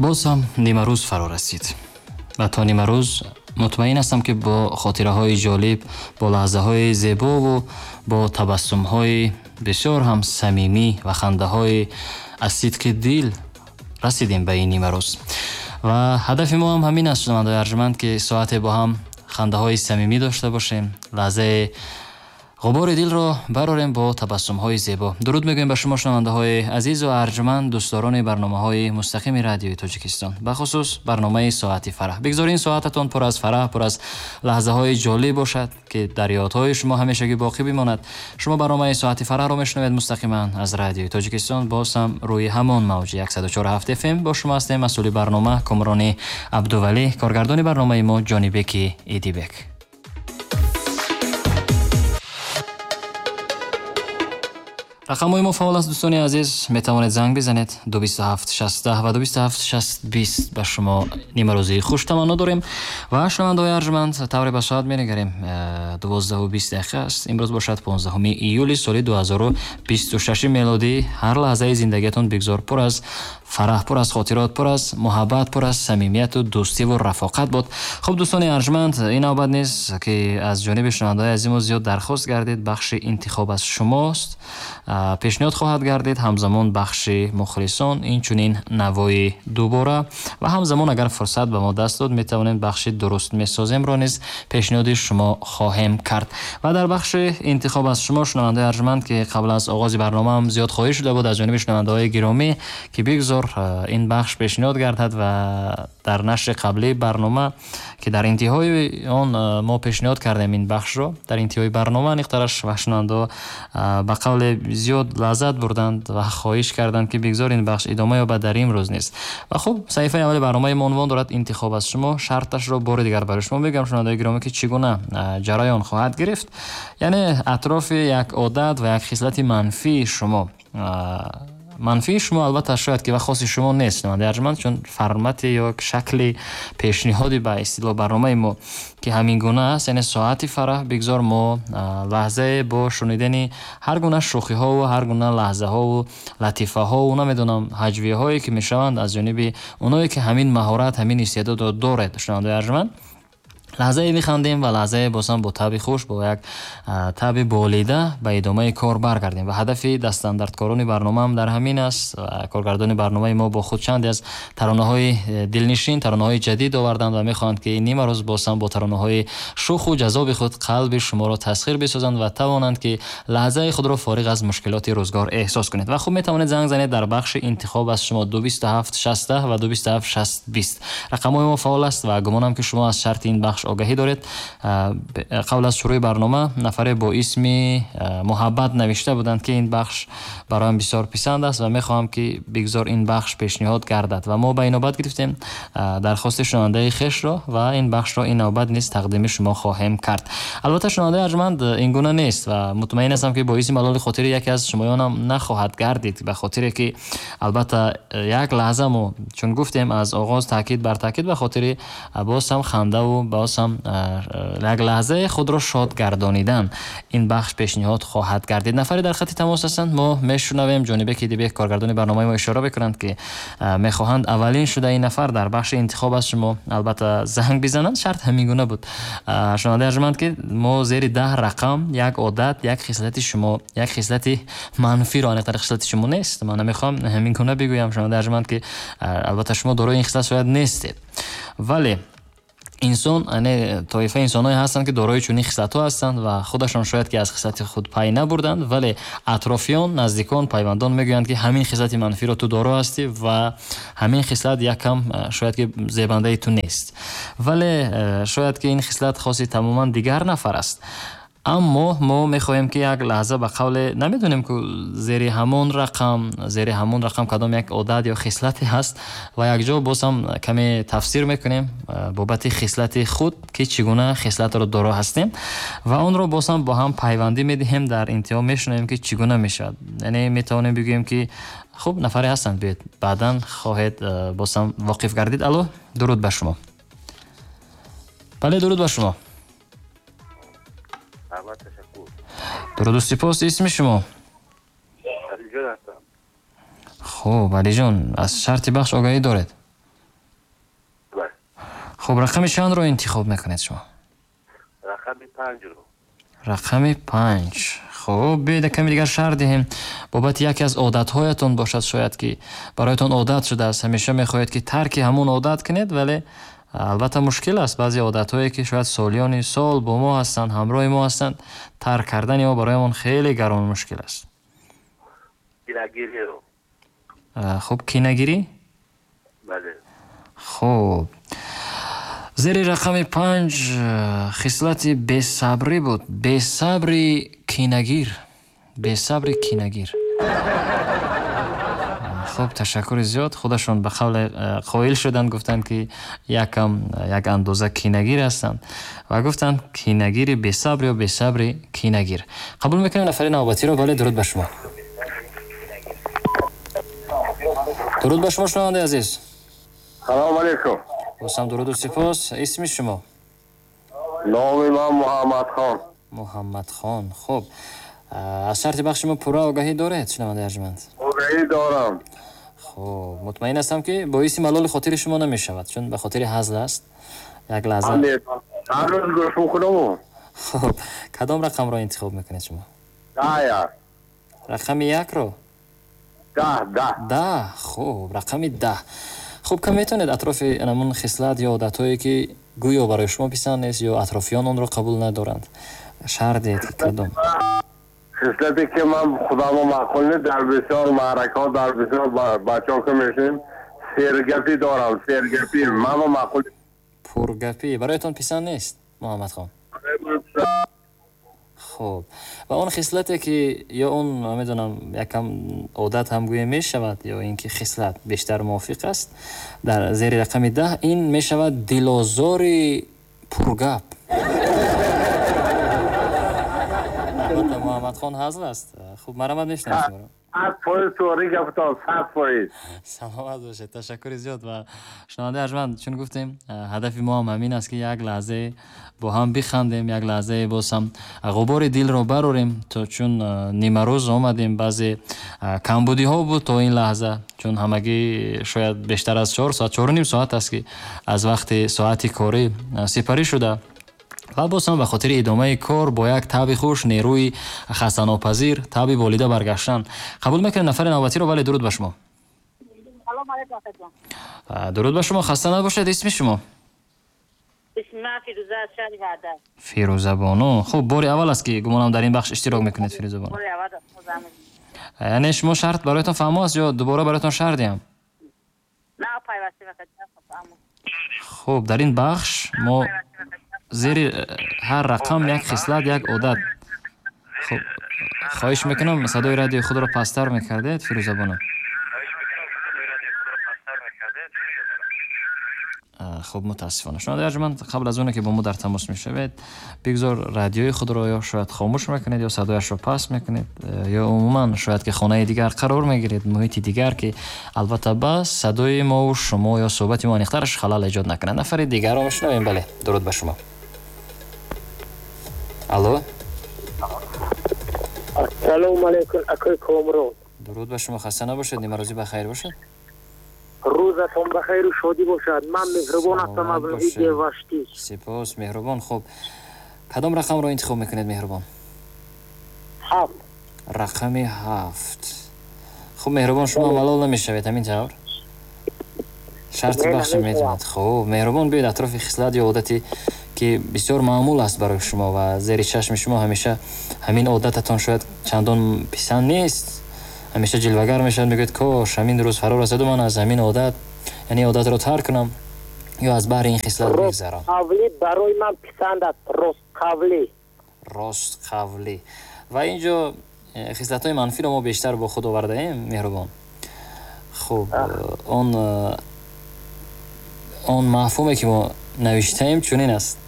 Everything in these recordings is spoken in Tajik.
Боз ҳам нимарӯз фаро расид ва то нимарӯз мутмаин ҳастам, ки бо хотираҳои ҷолиб, бо лаҳзаҳои зебову бо табассумҳои бисёр ҳам самимӣ ва хандаҳои аз сидқи дил расидем ба ин нимарӯз. Ва ҳадафи мо ҳам ҳамин аст, шунавандаои арҷманд, ки соате бо ҳам хандаҳои самимӣ дошта бошем, лаҳзаи ғубори дилро барорем бо табассумҳои зебо. Дуруд мегӯем ба шумо, шунавандаҳои азизу арҷманд, дӯстдорони барномаҳои мустақими Радиои Тоҷикистон, бахусус барномаи Соати фараҳ. Бигзор ин соататон пур аз фараҳ, пур аз лаҳзаҳои ҷолиб бошад, ки дар ёдҳои шумо ҳамешагӣ боқӣ бимонад. Шумо барномаи Соати фараҳро мешунавед мустақиман аз Радиои Тоҷикистон, боз ҳам рӯи ҳамон мавҷи 104.7 FM бо шумо ҳастем. Масъули барнома Комрони Абдувалӣ, коргардони барномаи мо Ҷонибеки Идибек. Рақамҳои мо фаъол аст, дӯстони азиз, метавонед занг бизанед 227 16 ва 27 6 20. Ба шумо нимарӯзии хуш таманно дорем ва, шунавандаҳои арҷманд, тавре ба соат менигарем, 12:20 дақиқа аст. Имрӯз бошад 15 июли соли 2026 мелодӣ. Ҳар лаҳзаи зиндагиятон бигзор пур аз фараҳ, пур аз хотирот, пур аз муҳаббат, пур аз самимияту дӯстиву рафоқат буд. Хуб, дӯстони арҷманд, ин навбат низ, ки аз ҷониби шунавандаҳои азиму зиёд дархост гардид, бахши интихоб аз шумост пешниҳод хоҳад гардид, ҳамзамон бахши мухлисон, инчунин навои дубора ва ҳамзамон агар фурсат ба мо даст дод, метавонем бахши дуруст месоземро низ пешниҳоди шумо хоҳем кард. Ва дар бахши интихоб аз шумо, шунавандаҳои арҷманд, ки қабл аз оғози барномаам зиёд хоҳиш шуда буд аз ҷониби шунавандаҳои гиромӣ, ки бигзор ин бахш пешниҳод гардад, ва дар нашри қаблии барнома, ки дар интиҳои он мо пешниҳод кардем ин бахшро, дар интиҳои барнома аниқтараш, ва шунавандаҳо ба қавле зиёд лаззат бурданд ва хоҳиш карданд, ки бигзор ин бахш идома ёбад дар имрӯз низ. Ва хуб, саҳифаи аввали барномаи мо унвон дорад интихоб аз шумо. Шарташро бори дигар барои шумо мегӯям, шунавандаҳои гиромӣ, ки чӣ гуна ҷараён хоҳад гирифт. Яъне атрофи як одат ва як хислати манфии шумо, манфии шумо албатта шояд ки ва хоси шумо нест, шунавандаи арҷманд, чун формати ё шакли пешниҳоди ба истилоҳ барномаи мо ки ҳамин гуна аст, яъне Соати фараҳ, бигзор мо лаҳзае бо шунидани ҳар гуна шӯхиҳову ҳар гуна лаҳзаҳову латифаҳову намедонам ҳаҷвиҳое ки мешаванд аз ҷониби оное ки ҳамин маҳорат, ҳамин истеъдодро доред, шунавандаи арҷманд, лаҳзае механдем ва лаҳзае бозам бо таби хуш, бо як таби болида ба идомаи кор баргардем. Ва ҳадафи дастандардкорони барномаам дар ҳамин аст. Коргардони барномаи мо бо худ чанде аз таронаҳои дилнишин, таронаҳои ҷадид оварданд ва мехоҳанд, ки нимарӯз бозам бо таронаҳои шӯху ҷазоби худ қалби шуморо тасхир бисозанд ва тавонанд, ки лаҳзаи худро фориғ аз мушкилоти рӯзгор эҳсос кунед. Ва хуб, метавонед занг занед дар бахши интихоб аз шумо 227 16 ва 27 6 20. Рақамҳои мо фаъол аст ва гумонам, ки шумо аз шарти ин бахш огаҳӣ доред. Қабл аз шурӯи барнома нафаре бо исми Муҳаббат навишта буданд, ки ин бахш бароям бисёр писанд аст ва мехоҳам, ки бигзор ин бахш пешниҳод гардад. Ва мо ба ин навбат гирифтем дархости шунавандаи хешро ва ин бахшро ин навбат низ тақдими шумо хоҳем кард. Албатта, шунавандаи арҷманд, ин гуна нест ва мутмаин ҳастам, ки боиси малоли хотири яке аз шумоёнам нахоҳад гардид, ба хотире ки албатта як лаҳза мо чун гуфтем аз оғоз таъкид бар таъкид, ба хотири боз ҳам хандаву боз ҳам як лаҳзаи худро шод гардонидан ин бахш пешниҳод хоҳад гардид. Нафаре дар хати тамос ҳастанд, мо мешунавем. Ҷонибеки Идибек, коргардони барномаи мо, ишора мекунанд, ки мехоҳанд аввалин шуда ин нафар дар бахши интихоб аз шумо албатта занг бизананд. Шарт ҳамин гуна буд, шунавандаи арҷманд, ки мо зери 10 рақам як одат, як хислати шумо, як хислати манфиро, аниқтар хислати шумо нест, ман намехоҳам ҳамин гуна бигӯям, шунавандаи арҷманд, ки албатта шумо дорои ин хислат шояд нестед, вале инсон, яъне тоифаи инсонҳое ҳастанд, ки дорои чунин хислатҳо ҳастанд ва худашон шояд ки аз хислати худ пай набурданд, вале атрофиён, наздикон, пайвандон мегӯянд, ки ҳамин хислати манфиро ту доро ҳастӣ ва ҳамин хислат якам шояд ки зебандаи ту нест, вале шояд ки ин хислат хоси тамоман дигар нафар аст. Аммо мо мехоҳем, ки як лаҳза ба қавле намедонем, ки зери ҳамон рақам, зери ҳамон рақам кадом як одат ё хислате ҳаст ва якҷо боз ҳам каме тафсир мекунем бобати хислати худ, ки чӣ гуна хислатро доро ҳастем ва онро боз ҳам бо ҳам пайвандӣ медиҳем. Дар интиҳо мешунавем, ки чӣ гуна мешавад. Яъне метавонем бигӯем, ки хуб, нафаре ҳастанд, биёед, баъдан хоҳед боз ҳам воқиф гардид. Алло, дуруд ба шумо. Бале, дуруд ба шумо. Дуруду сипос. Исми шумо? Алиҷон ҳастам. Хуб, Алиҷон, аз шарти бахш огаҳӣ доред? Хуб, рақами чандро интихоб мекунед шумо? Рақами 5-ро. Рақами 5. Хуб, биёед каме дигар шарҳ диҳем. Бобати яке аз одатҳоятон бошад, шояд ки бароятон одат шудааст, ҳамеша мехоҳед ки тарки ҳамон одат кунед, вале албатта мушкил аст. Баъзе одатҳое ки шояд солиёни сол бо мо ҳастанд, ҳамроҳи мо ҳастанд, тарк кардани мо бароямон хеле гарон мушкил аст. Кинагириро. Хуб, кинагирӣ? Бале. Хуб, зери рақами 5 хислати бесабрӣ буд. Бесабри кинагир. Бесабри кинагир. Хуб, ташаккури зиёд. Худашон ба қавле қоил шуданд, гуфтанд ки якам як андоза кинагир ҳастанд ва гуфтанд кинагири бесабр ё бесабри кинагир. Қабул мекунем нафари навбатиро. Бале, дуруд ба шумо. Дуруд ба шумо, шунавандаи азиз. Салом алейкум. Босам дуруду сипос. Исми шумо? Номи ман Муҳаммадхон. Муҳаммадхон. Хуб, аз шарти бахши мо пурра огаҳӣ доред, шунавандаи арҷманд? Огаҳӣ дорам. Хуб, мутмаин ҳастам ки боиси малоли хотири шумо намешавад, чун ба хотири ҳазл аст. Як лаҳза. Ҳар рӯз гӯш мекунам. Хуб, кадом рақамро интихоб мекунед шумо? 10. Рақами 1-ро? 10. 10. Хуб, рақами 10. Хуб, кам метавонед атрофи ҳамон хислат ё одатҳое ки гӯё барои шумо писанд нест ё атрофиён онро қабул надоранд, шарҳ диҳед ки кадом? Хислате ки ман худамо маъқул нест, дар бисёр маъракаҳо, дар бисёр бачаҳо ки мешинем, сергапӣ дорам, сергапӣ мамо маъқул. Пургапӣ бароятон писанд нест, Муҳаммадхон? Хуб, ва он хислате ки ё он намедонам якам одат ҳам гӯя мешавад ё ин ки хислат бештар мувофиқ аст, дар зери рақами 10 ин мешавад дилозори пургап. Албатта Муҳаммадхон ҳазл аст. Хуб, марҳамат, мешунавем шуморо. 100% туғри гаптон, 100%. Саломат бошед, ташаккури зиёд. Ва шунавандаи арҷманд, чун гуфтем, ҳадафи мо ҳам ҳамин аст ки як лаҳзае бо ҳам бихандем, як лаҳзае боз ҳам ғубори дилро барорем, то чун нимарӯз омадем, баъзе камбудиҳо буд то ин лаҳза, чун ҳамагӣ шояд бештар аз 4 соат, 4.5 соат аст ки аз вақти соати корӣ сипарӣ шуда ва боз ҳам ба хотири идомаи кор бо як таби хуш, нерӯи хастанопазир, таби болида баргаштан. Қабул мекунем нафари навбатиро. Бале, дуруд ба шумо. Салом алейкум, акаҷон. Дуруд ба шумо, хаста набошед. Исми шумо? Исми ман Фирӯза аз шаҳри Ваҳдат. Фирӯза бону. Хуб, бори аввал аст ки гумонам дар ин бахш иштирок мекунед, Фирӯза бону. Бори аввал аст, музаммил. Яъне шумо шарт бароятон фаҳмо аст ё дубора бароятон шарт диҳам? На, пайвастем, акаҷон, фаҳмо. Хуб, дар ин бахш мо зери ҳар рақам як хислат, як одат. Хуб, хоҳиш мекунам садои радиои худро пасттар мекардед, Фирӯза бону. Хуб, мутаассифона шунавандаи арҷманд, қабл аз оне ки бо мо дар тамос мешавед, бигзор радиои худро ё шояд хомӯш мекунед, ё садояшро паст мекунед, ё умуман шояд ки хонаи дигар қарор мегиред, муҳити дигар ки албатта ба садои мову шумо ё суҳбати мо аниқтараш халал эҷод накунад. Нафари дигарро мешунавем. Бале, дуруд ба шумо. Алло. Ассалому алайкум, акои Комрон. Дуруд ба шумо, хаста набошед, нимарӯзӣ ба хайр бошад. Рӯзатон ба хайру шодӣ бошад. Ман Меҳрубон ҳастам аз ноҳияи Ваштӣ. Сипос, Меҳрубон. Хуб, кадом рақамро интихоб мекунед, Меҳрубон? 7. Рақами 7. Хуб, Меҳрубон, шумо малол намешавед, ҳамин тавр? Шарти бахш метавонад. Хуб, Меҳрубон, биёед атрофи хислат ё одате ки бисёр маъмул аст барои шумо ва зери чашми шумо ҳамеша ҳамин одататон шояд чандон писанд нест, ҳамеша ҷилвагар мешавад, мегӯяд кош ҳамин рӯз фаро расаду ман аз ҳамин одат, яъне одатро тарк кунам ё аз баҳри ин хислат бигзарам. Ростқавлӣ барои ман писанд аст, ростқавлӣ. Ростқавлӣ. Ва инҷо хислатҳои манфиро мо бештар бо худ овардаем, Меҳрубон. Хуб, он мафҳуме ки мо навиштаем чунин аст: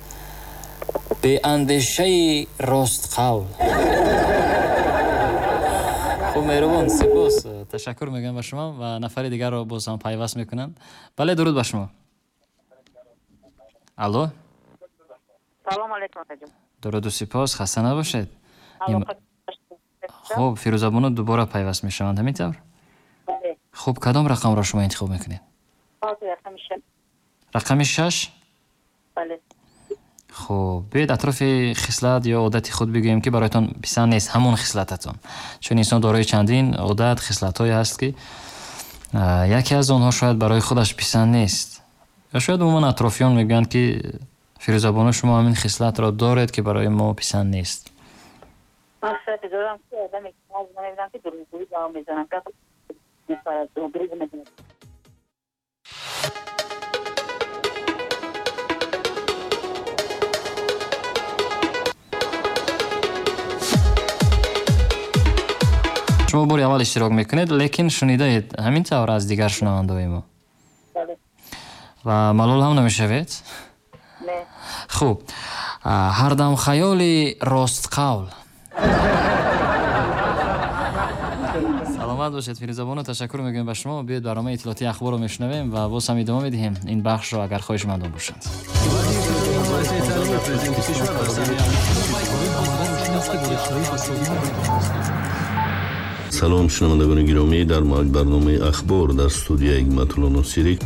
беандешаи ростқавл. Хуб, Меҳрубон, сипос, ташаккур мегӯям ба шумо ва нафари дигарро боз ҳам пайваст мекунанд. Бале, дуруд ба шумо. Алло. Салом алейкум, акаҷон. Дуруду сипос, хаста набошед. Хуб, Фирӯза бону дубора пайваст мешаванд, ҳамин тавр? Хуб, кадом рақамро шумо интихоб мекунед? Рақами 6. Рақами 6? Бале. Хуб, биёед атрофи хислат ё одати худ бигӯем, ки бароятон писанд нест ҳамон хислататон. Чун инсон дорои чандин одат, хислатҳое ҳаст, ки яке аз онҳо шояд барои худаш писанд нест. Ё шояд умуман атрофиён мегӯянд, ки Фирӯзабону, шумо ҳамин хислатро доред, ки барои мо писанд нест. Ман хислате дорам, ки одаме ки мебинам, ки дурӯғгӯӣ ба ман мезанам, гап мепарад, дурӯғ мезанад. Шумо бори аввал иштирок мекунед, лекин шунидаед ҳамин тавр аз дигар шунавандаҳои мо? Бале. Ва малол ҳам намешавед? Не. Хуб, ҳардам хаёли ростқавл. Саломат бошед, Фирӯзабону, ташаккур мегӯем ба шумо. Биёед барномаи иттилоотии ахборро мешунавем ва боз ҳам идома медиҳем ин бахшро, агар хоҳишмандон бошанд. Салом, шунавандагони гиромӣ, дар барномаи ахбор дар студияи Ҳикматулло Носирӣ.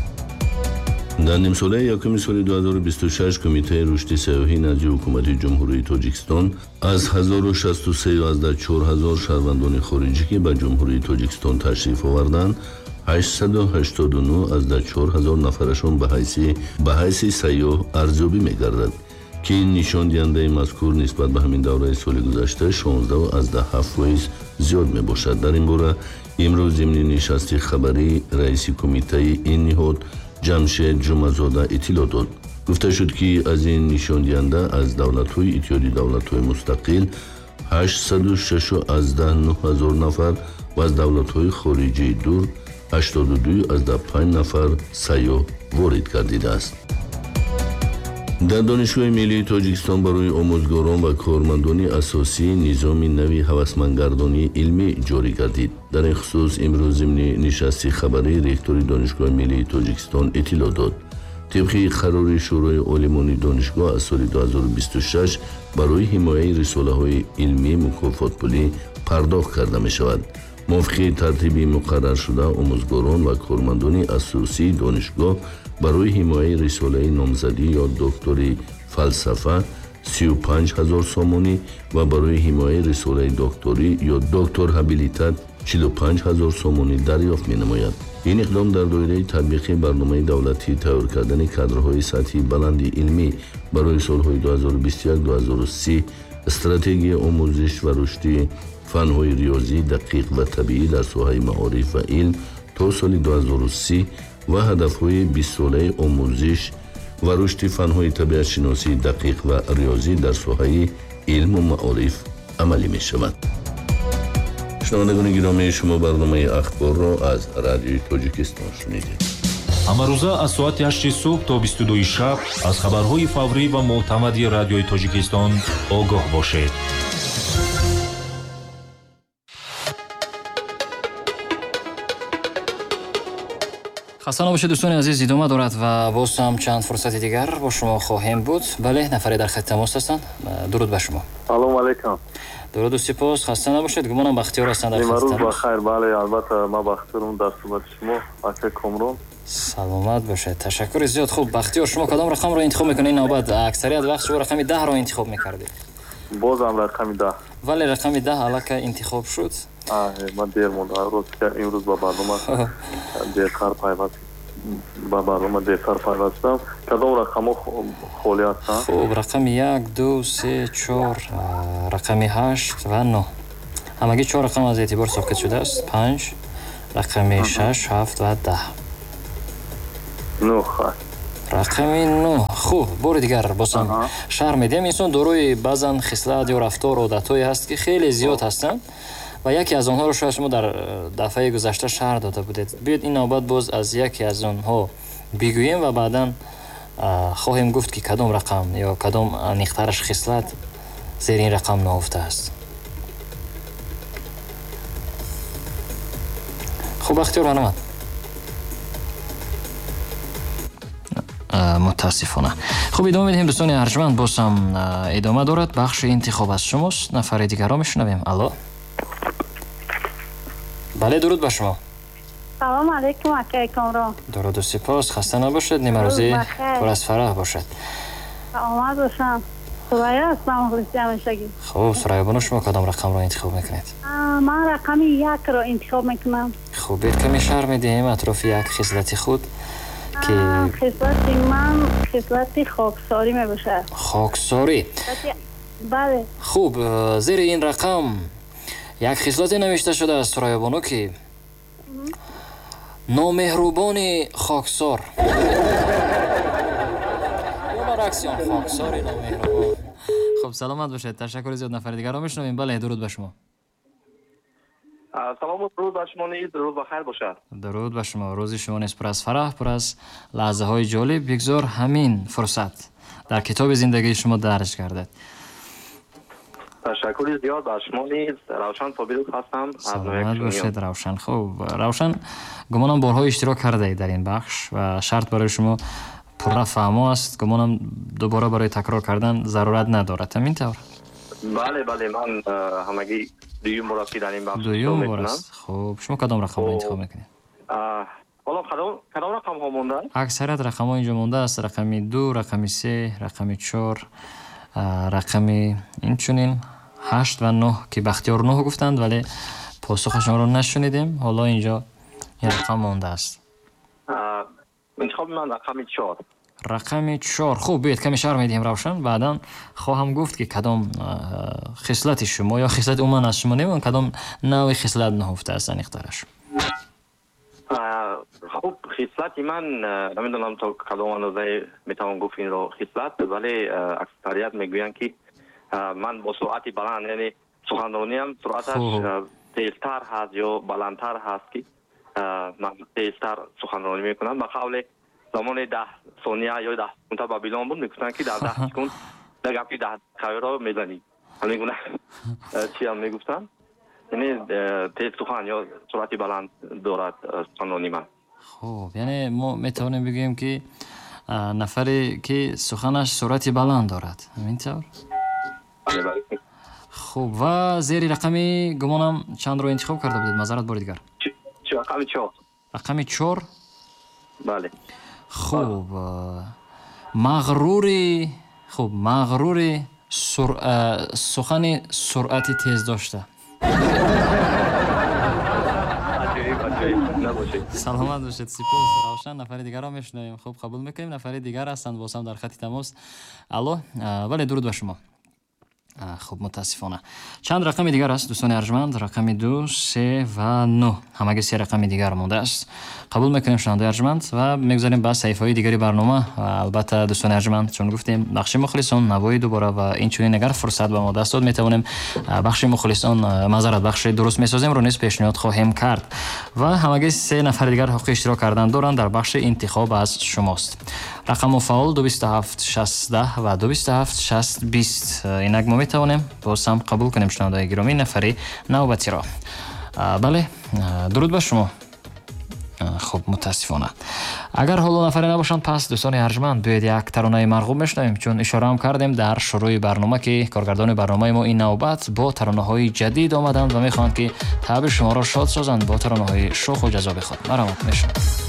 Дар нимсолаи якуми соли 2026 Кумитаи рушди сайёҳӣ назди Ҳукумати Ҷумҳурии Тоҷикистон аз 1063,4 ҳазор шаҳрвандони хориҷӣ, ки ба Ҷумҳурии Тоҷикистон ташриф оварданд, 889,4 ҳазор нафарашон ба ҳайси сайёҳ арзёбӣ мегардад, ки ин нишондиҳандаи мазкур нисбат ба ҳамин давраи соли гузашта 16,7% зиёд мебошад. Дар ин бора имрӯз зимни нишасти хабарӣ раиси кумитаи ин ниҳод Ҷамшед Ҷумазода иттилоъ дод. Гуфта шуд, ки аз ин нишондиҳанда аз давлатҳои Иттиҳоди давлатҳои мустақил 806,9 ҳазор нафар ва аз давлатҳои хориҷии дур 82,5 нафар сайёҳ ворид гардидааст. Дар Донишгоҳи миллии Тоҷикистон барои омӯзгорон ва кормандони асосӣ низоми нави ҳавасмандгардонии илмӣ ҷорӣ гардид. Дар ин хусус имрӯз зимни нишасти хабарӣ ректори Донишгоҳи миллии Тоҷикистон иттилоъ дод. Тибқи қарори Шӯрои олимони донишгоҳ аз соли 2026 барои ҳимояи рисолаҳои илмӣ мукофотпулӣ пардохт карда мешавад. Мувофиқи тартиби муқарраршуда омӯзгорон ва кормандони асосии донишгоҳ барои ҳимояи рисолаи номзадӣ ё доктори фалсафа 35 ҳазор сомонӣ ва барои ҳимояи рисолаи докторӣ ё доктор ҳабилитат 45 ҳазор сомонӣ дарёфт менамояд. Ин иқдом дар доираи татбиқи барномаи давлатии тайёр кардани кадрҳои сатҳи баланди илмӣ барои солҳои 2021-2030, стратегияи омӯзиш ва рушди фанҳои риёзӣ, дақиқ ва табиӣ дар соҳаи маориф ва илм то соли 2030 ва ҳадафҳои 20-солаи омӯзиш ва рушди фанҳои табиатшиносии дақиқ ва риёзӣ дар соҳаи илму маориф амалӣ мешавад. Шунавандагони гиромӣ, шумо барномаи ахборро аз Радиои Тоҷикистон шунидед. Ҳамарӯза аз соати 8 субҳ то 22 шаб аз хабарҳои фаврӣ ва мӯътамади Радиои Тоҷикистон огоҳ бошед. Хаста набошед, дӯстони азиз, идома дорад ва боз ҳам чанд фурсати дигар бо шумо хоҳем буд. Бале, нафаре дар хати тамос ҳастанд. Дуруд ба шумо. Салом алейкум. Дуруду сипос, хаста набошед. Гумонам Бахтиёр ҳастанд дар хати тамос. Имрӯз бахайр, бале, албатта ман Бахтиёрам дар суҳбати шумо, ака Комрон. Саломат бошед, ташаккури зиёд. Хуб, Бахтиёр, шумо кадом рақамро интихоб мекунед? Навбат аксарият вақт шумо рақами 10-ро интихоб мекардед. Бозам рақами 10. Вале рақами 10 аллакай интихоб шуд. Ман дер мондам. Рост имрӯз ба барнома дертар пайваст шудам. Кадом рақамҳо холӣ ҳастанд? Хуб, рақами 1, 2, 3, 4, рақами 8 ва 9. Ҳамагӣ 4 рақам аз эътибор соқит шудааст. 5, рақами 6, 7 ва 10. 9. Рақами 9. Хуб, бори дигар бозам шарҳ медиҳем. Инсон дорои баъзан хислат ё рафтор, одатҳое ҳаст, ки хеле зиёд ҳастанд ва яке аз онҳоро шояд шумо дар дафъаи гузашта шарҳ дода будед. Биёед ин навбат боз аз яке аз онҳо бигӯем ва баъдан хоҳем гуфт, ки кадом рақам ё кадом аниқтараш хислат зери ин рақам ноҳуфтааст. Хуб, Бахтиёр, марҳамат. Мутаассифона. Хуб, идома медиҳем, дӯстони арҷманд. Боз ҳам идома дорад бахши интихоб аз шумост. Нафари дигарро мешунавем. Алло. Бале, дуруд ба шумо. Салом алейкум, акай Комрон. Дуруду сипос, хаста набошед, нимарӯзӣ пур аз фараҳ бошад. Саломат бошам. Сурайё ҳастам, мухлиси ҳамешагӣ. Хуб, Сурайё бону, шумо кадом рақамро интихоб мекунед? Ман рақами 1-ро интихоб мекунам. Хуб, биёед каме шарҳ медиҳем атрофи як хислати худ ки хислати ман хислати хоксорӣ мебошад. Хоксорӣ. Бале. Хуб, зери ин рақам як хислате навишта шудааст, Сурайё бону, ки номеҳрубони хоксор. Ё баръакси он, хоксори номеҳрубон. Хуб, саломат бошед, ташаккури зиёд. Нафари дигарро мешунавем. Бале, дуруд ба шумо. Салом, дуруд ба шумо низ, рӯз ба хайр бошад. Дуруд ба шумо, рӯзи шумо низ пур аз фараҳ, пур аз лаҳзаҳои ҷолиб. Бигзор ҳамин фурсат дар китоби зиндагии шумо дарҷ гардад. Ташаккури зиёд ба шумо низ. Равшан Собиров ҳастам. Саломат бошед, Равшан. Хуб, Равшан, гумонам борҳо иштирок кардаед дар ин бахш ва шарт барои шумо пурра фаҳмо аст. Гумонам дубора барои такрор кардан зарурат надорад. Ҳамин тавр? Бале, бале, ман ҳамагӣ дуюм бор аст, ки дар ин бахш дуюм бор аст. Хуб, шумо кадом рақамро интихоб мекунед? Ҳоло кадом рақамҳо мондааст? Аксарият рақамҳо инҷо мондааст: рақами 2, рақами 3, рақами 4, рақами инчунин 8 ва 9, ки Бахтиёр 9 гуфтанд, вале посухашонро нашунидем. Ҳоло инҷо ин рақам мондааст. Интихоби ман рақами 4. Рақами 4. Хуб, биёед каме шарҳ медиҳем, Равшан. Баъдан хоҳам гуфт, ки кадом хислати шумо ё хислати умуман аз шумо немон, кадом навъи хислат наҳуфта аст аниқтараш. Хуб, хислати ман намедонам то кадом андоза метавон гуфт инро хислат, вале аксарият мегӯянд, ки ман бо суръати баланд, яъне суханрониям суръаташ тезтар ҳаст ё баландтар ҳаст, ки ман тезтар суханронӣ мекунам. Ба қавле замони 10 сония ё 10 секунда Бабилон буд, мегуфтанд, ки дар 10 секунд дар гапи 10 дақиқаро мезанӣ. Ҳамин гуна чиам мегуфтанд. Яъне тез сухан ё суръати баланд дорад суханронии ман. Хуб, яъне мо метавонем бигӯем, ки нафаре ки суханаш суръати баланд дорад. Ҳамин тавр? Бале, бале. Хуб, ва зери рақами гумонам чандро интихоб карда будед? Маъзарат, бори дигар. Рақами 4. Рақами 4? Бале. Хуб, мағрури, хуб, мағрури сухани суръати тез дошта. Саломат бошед, сипос, Равшан. Нафари дигарро мешунавем. Хуб, қабул мекунем. Нафари дигар ҳастанд боз ҳам дар хати тамос. Алло, бале, дуруд ба шумо. Хуб, мутаассифона. Чанд рақами дигар аст, дӯстони арҷманд: рақами 2, 3 ва 9. Ҳамагӣ се рақами дигар мондааст. Қабул мекунем, шунавандаи арҷманд, ва мегузарем ба саҳифаҳои дигари барнома. Ва албатта, дӯстони арҷманд, чун гуфтем, бахши мухлисон, навои дубора ва инчунин агар фурсат ба мо даст дод, метавонем бахши мухлисон, маъзарат, бахши дуруст месоземро низ пешниҳод хоҳем кард. Ва ҳамагӣ се нафари дигар ҳуқуқи иштирок кардан доранд дар бахши интихоб аз шумост. Рақамҳо фаъол: 227 60 ва 227 60 20. Инак мо метавонем боз ҳам қабул кунем, шунавандаи гиромӣ, нафари навбатиро. Бале, дуруд ба шумо. Хуб, мутаассифона. Агар ҳоло нафаре набошанд, пас, дӯстони арҷманд, биёед як таронаи марғуб мешунавем, чун ишораам кардем дар шурӯи барнома, ки коргардони барномаи мо ин навбат бо таронаҳои ҷадид омаданд ва мехоҳанд, ки таъби шуморо шод созанд бо таронаҳои шӯху ҷазоби худ. Марҳамат, мешунавем.